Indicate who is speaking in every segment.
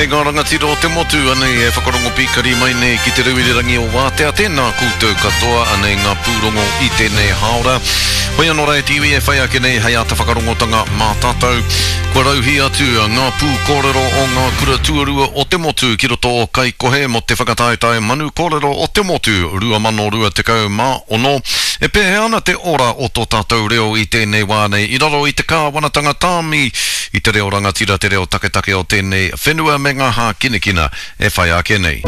Speaker 1: E ngā rangatira o te motu, anei e whakarongo pīkari mai nei ki te reo irirangi o Wātea, tēnā koutou katoa, anei ngā pūrongo i tēnei hāora. Hoi anō rā e te iwi e whai ake nei hei āta whakarongotanga mā tātou. Kua rauhī atu ngā pūkōrero o ngā kura tuarua o te motu ki roto o Kaikohe mō te whakataetae Manu Kōrero o te Motu 2026. E pēhea ana te ora o tō tātou reo i tēnei wā nei i raro i te kāwanatanga tāmi i te reo rangatira, te reo taketake o tēnei whenua me ngā hākinakina e whai ake nei.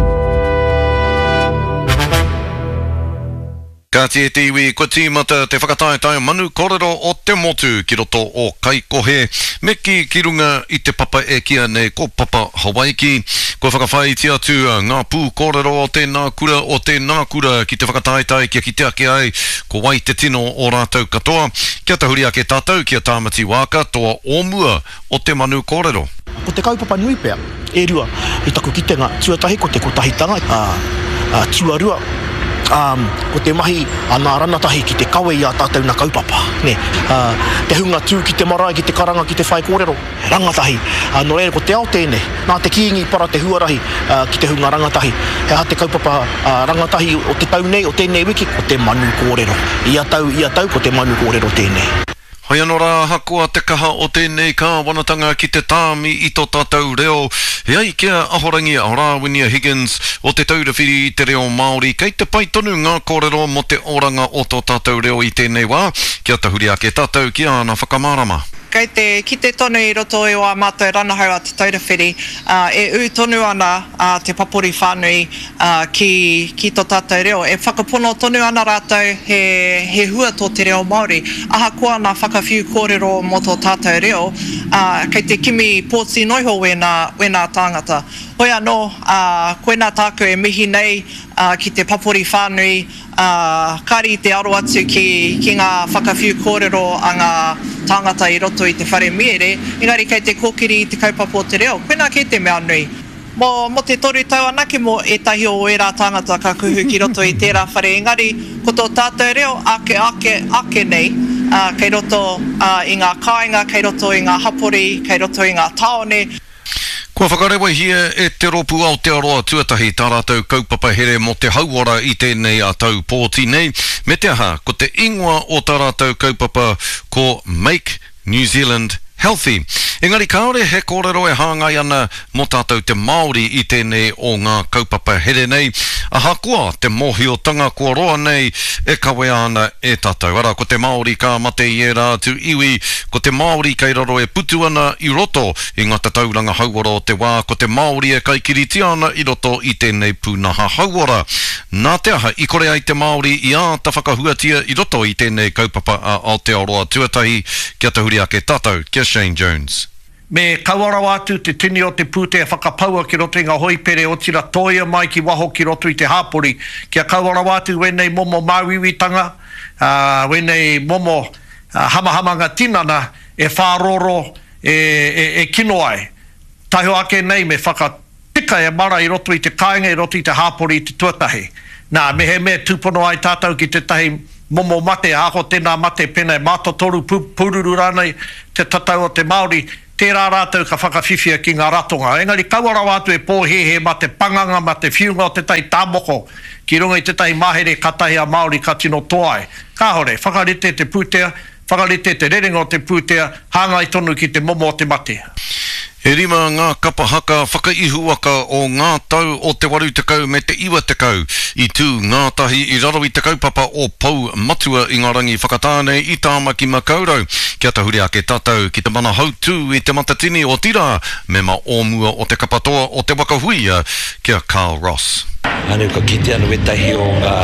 Speaker 1: Kāti e te iwi, kua tīmata te whakataetae manu korero o te motu ki roto o Kaikohe, me kī ki runga i te papa e kīa nei ko Papa Hawaiki. Kua whakawhāiti atu ngā pūkōrero o tēnā kura, o tēnā kura ki te whakataetae kia kite ake ai ko wai te tino o rātou katoa. Kia tahuri ake tātou ki a Tāmati Waaka, toa o mua o te manu kōrero.
Speaker 2: Ko te kaupapa nui pea, e rua, i taku kitenga, tuatahi ko te kotahitanga, ā, tuarua, ā, ko te mahi a nā ranatahi ki te kawe i ā tātou na kaupapa, nē. Ā, te hunga tū ki te marae, ki te karanga, ki te whaikōrero, he rangatahi. Ā, nō reira ko te ao tēnei, nā te Kīngi i para te huarahi, ā, ki te hunga rangatahi. He aha te kaupapa, ā, rangatahi o te tau nei, o tēnei wiki? Ko te manu kōrero. Ia tau, ia tau, ko te manu kōrero tēnei.
Speaker 1: Hoi anō rā, ahakoa te kaha o tēnei kāwanatanga ki te tāmi i tō tātou reo, e ai ki a Ahorangi Rāwinia Higgins o Te Taura Whiri i te Reo Māori, kei te pai tonu ngā kōrero mō te oranga o tō tātou reo i tēnei wā, kia tahuri ake tātou ki āna whakamārama.
Speaker 3: Kei te kite tonu i roto i ā mātou ranahau a Te Taura Whiri, e ū tonu ana te papori whānui ki, ki tō tātou reo. E whakapono tonu ana rātou he, he hua tō te reo Māori. Ahakoa nā whakawhiu kōrero mō tō tātou reo, ā, kei te kimi pōti noiho wēnā, wēnā tāngata. Hoi anō, ā, koinā tāku e mihi nei, ā, ki te papori whānui, ā, kāre i te aro atu ki, ki ngā whakawhiu kōrero a ngā tāngata i roto i te whare miere, engari kei te kōkiri i te kaupapa o te reo. Koinā kē te mea nui. Mō, mō te toru tau anake mō ētahi o ērā tāngata ka kuhu ki roto i tērā whare engari ko tō tātou reo ake, ake, ake nei, ā, kei roto, ā, i ngā kāinga, kei roto i ngā hapori, kei roto i ngā tāone.
Speaker 1: Kua whakarewahia e Te Rōpū Aotearoa Tuatahi tā rātou kaupapa here mō te hauora i tēnei a tau pōti nei, me te aha, ko te ingoa o tā rātou kaupapa ko Make New Zealand Healthy. Engari kāore he kōrero e hāngai ana mō tātou te Māori i tēnei o ngā kaupapa here nei, ahakoa te mōhiotanga kua roa nei e kawea ana e tātou. Arā, ko te Māori ka mate i ērā atu iwi, ko te Māori kei raro e putu ana i roto i ngā tatauranga hauora o te wā, ko te Māori e kaikiritia ana i roto i tēnei pūnaha hauora. Nā te aha i kore ai te Māori i āta whakahuatia i roto i tēnei kaupapa a Aotearoa Tuatahi? Kia tahuri ake tātou ki a Shane Jones.
Speaker 4: Me kaua rawa atu te tini o te pūtea whakapaua ki roto i ngā hoipere otira tōia mai ki waho ki roto i te hāpori kia kaua rawa atu wēnei momo māuiuitanga, wēnei momo hamahamanga tinana e whārōrō, e kino ai. Taihoa ake nei me whaka. Tika e mara i roto i te kāinga, i roto i te hāpori i te tuatahi. Nā, mehemea tūpono ai tātou ki tētahi momo mate, ahakoa tēnā mate pēnā e mātotoru, pūruru rānei te tatau o te Māori, tērā rātou ka whakawhiwhia ki ngā ratonga. Engari kaua rawa atu e pōhēhē mā te panganga, mā te whiunga o tētahi tāmoko ki runga i tētahi mahere kātahi a Māori ka tino toa ai. Kāore, whakarite te pūtea, Whakarite te rerenga o te pūtea hāngai tonu ki te momo o te mate.
Speaker 1: E rima ngā kapa haka whakaihuwaka o ngā tau o te 80 me te 90 i tū ngātahi i raro i te kaupapa o Pou Matua i ngā rangi whakatā nei i Tāmaki Makaurau. Kia tahuri ake tātou ki te mana hautū i Te Matatini, otirā, mema o mua o te kapa toa o Te Waka Huia, ki a Carl Ross.
Speaker 5: Anu ka kite anu wetahi o nga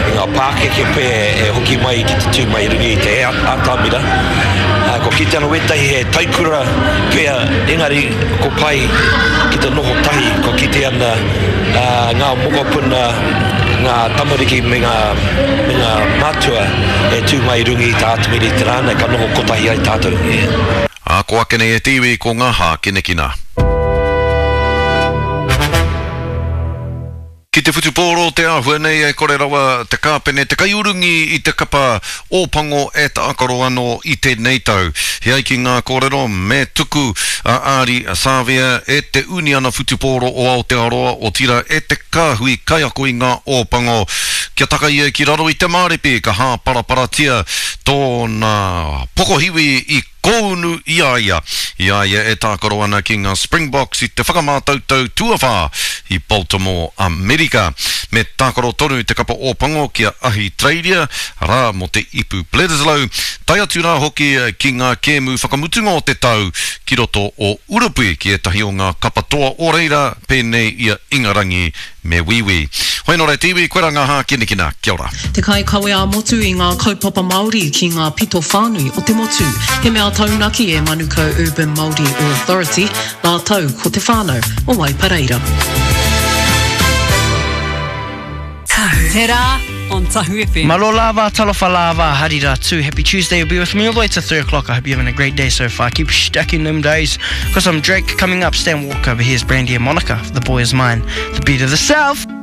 Speaker 5: i nga pakeke pe e hoki mai ki te tu mai i runga i te atamira. Ko kite anu wetahi he taikura pea engari ko pai ki te noho tahi ko kite ana nga mokopuna nga tamariki me nga me nga matua e tu mai i runga i te atamira i te ra nei ka noho kotahi ai tatou.
Speaker 1: Ā, ko ake nei e te iwi ko ngā hākinakina. Ki te whutupōro te āhua nei e kore rawa te kāpene te kaiurungi i te kapa Ōpango e tākaro anō i tēnei tau. He ai ki ngā kōrero me tuku a Ardie Savea e te Uniana Whutupōro o Aotearoa, otirā e te kāhui kaiako i ngā Ōpango kia taka ia ki raro i te māripi ka hāparaparatia tōna pokohiwi i Kōunu i a ia, i a ia e tākaro ana ki ngā Springboks i te whakamātautau tuawhā i Baltimore, Amerika. Me tākaro tonu te kapa Ōpango ki a Ahitereiria, arā, mō te Ipu Bledisloe, tae atu rā hoki ki ngā kēmu whakamutunga o te tau ki roto o Urupuī ki ētahi o ngā kapa toa o reira pēnei i a Ingarangi me Wīwī. Hoi nō reira te iwi, koirā ngā hākinakina. Kia ora.
Speaker 6: Te kaikawe ā-motu i ngā kaupapa Māori ki ngā pito whānui o te motu. He mea taunaki e Manukau Urban Māori Authority, rātou ko te whānau o Waipareira.
Speaker 7: Te Rā on Tahu FM.
Speaker 8: Malo lava, talofa lava, hari rā tū. Happy Tuesday, you'll be with me all the way to 3 o'clock. I hope you're having a great day so far. Keep stacking them days. Got some Drake coming up, Stan Walker, but here's Brandy and Monica. The boy is mine. The beat of the South.